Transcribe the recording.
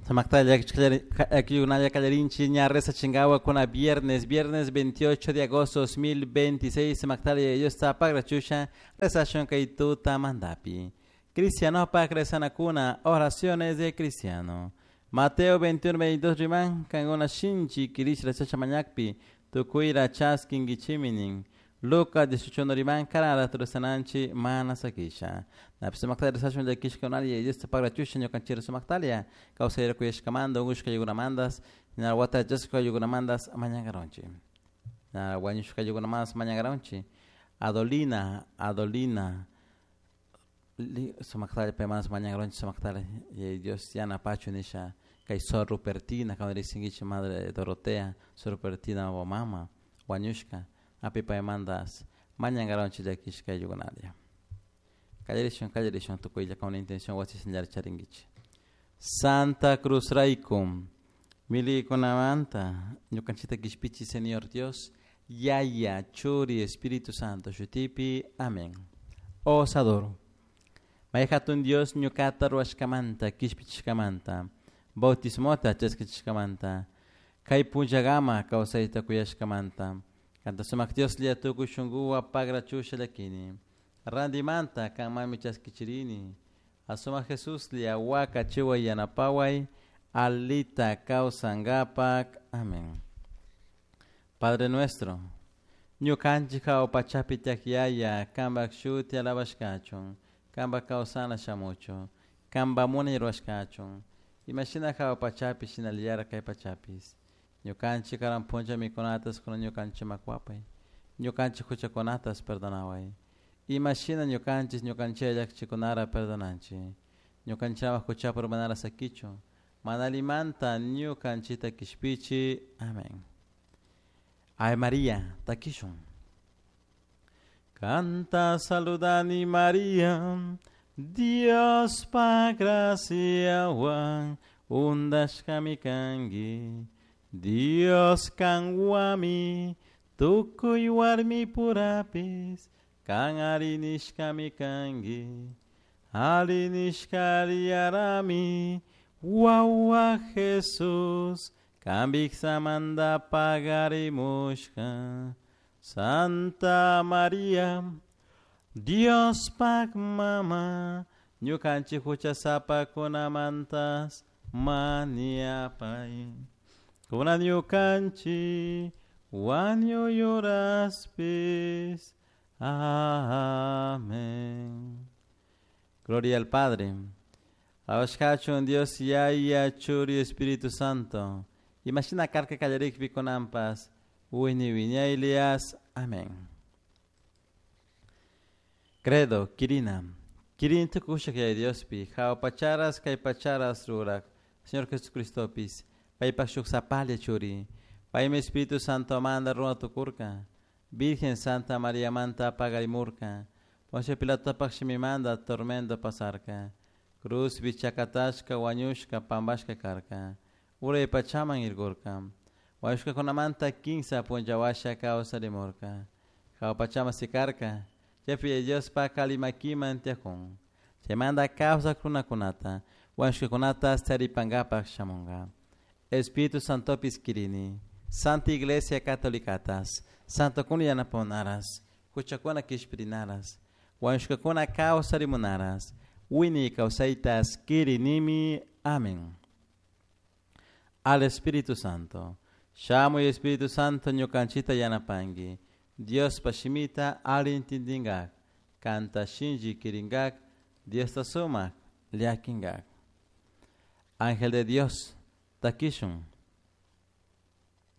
Sumaqta llakikunalla ña rezachinkawa viernes, viernes 28 de agosto 2026, sumaqtalla Diosta pagrachusha rezashun kay tutamantapi. Cristianopak rezanakuna, oraciones de cristiano. Mateo 21, 22 riman, kankuna shinchi kirish rezasha mañakpi, tukuyra chaskinkichimi nin. Lucas 18 riman, karara rezananchi mana sakisha. Napi sumaqta rezashun llakishkakunalla Diosta pagrachusha ñukanchik sumaqtalla, kawsayra kuyashkamanta, unkushka aylluykunamantas, wata chashka aylluykunamantas mañankaronchik. Wañushka aylluykunamantas mañankaronchik. Adolina, Adolina, sumaqtalla paymantas mañankaronchik sumaqtalla Dios yanapachu nisha kay Sor Rupertina, cuando riqsinkichik Madre Dorotea, Sor Rupertina mama, wañushka, api paymantas mañankaronchik llakishka ayllukunalla. Qallarishun, qallarishun tukuylla con una intención wasi señal charinkichik. Santa Cruz rayku, millaykunamanta, ñukanchikta kishpichi Señor Dios, Yaya, Churi, Espíritu Santo, shutipi, amén. Os adoro. May hatun Dios ñukata ruwashkamanta, kishpichishkamanta, bautismota chaskichishkamanta, kay punllakama kawsayta kuyashkamanta, kanta sumak Dioslla tukuy shunkuwan pagrachusha llakini. Randimanta kanmanmi chaskichirini. Asumak Jesuslla wakachiway yanapaway, alita kawsankapak. Amén. Padre nuestro, ñukanchik hawa pachapi tiyak Yaya, kanpak shuti alabashkachun, kanpak kawsana shamuchun, kanpak munay rurashkachun, imashina hawa pachapi shinallara kay pachapis. Ñukanchik karan punlla mikunatas kunan ñukanchikman kuwapay, ñukanchik huchakunatas perdonaway. Imashina ñukanchik ñukanchik llakichikunara perdonanchik. Ñukanchikman huchapi urmanara sakichun, mana allimanta ñukanchikta kishpichi. Amén. Ave María, takishun. Kanta saludani María, Diospa graciawan undashkami kanki. Dios kanwami, tukuy warmi purapis, kan arinishkami kanki. Arinishkariarami, wawa Jesus, kan viksamanta pagarimushka. Santa María, Diospak mama, ñukanchik huchasapakunamantas mañapay. Kunan ñukanchik wañuy uraspis. Amén. Gloria al Padre. Alabashkachun Dios Yaya, Churi, Espíritu Santo. Imashina karka kallarikpi kunanpas, wiñay wiñaylias. Amén. Credo, Kirina. Kirin tukushak Yaya Diospi, hawa pacharas kay pacharas rurak, Señor Jesucristopis, paypak shuk sapalla churi, paymi Espíritu Santo manda runa tukurka, Virgen Santa María manta pagarimurka, Poncio Pilatopak shimimanta tormento pasarka, cruzpi chakatashka wañushka pampashka karka, uray pachaman irkurka, wañushkakunamanta kinsa punlla washa kawsarimurka, hawa pachaman sikarka, chaypi Diospak alli makiman tiyakun, chaymanta kawsak runakunata, wañushkakunata taripankapak shamunka. Espíritu Santopis kirini, Santa Iglesia Catolicatas, Santokuna yanapamunaras, huchakuna kishpirinaras, wañushkakuna kawsarimunaras, wiñay kawsaytas kirinimi. Amén. Al Espíritu Santo. Shamuy Espíritu Santo ñukanchikta yanapanki. Diospa shimita alli intindinkak, kanta shinchi kirinkak, Diosta sumak llakinkak. Ángel de Dios, takishun.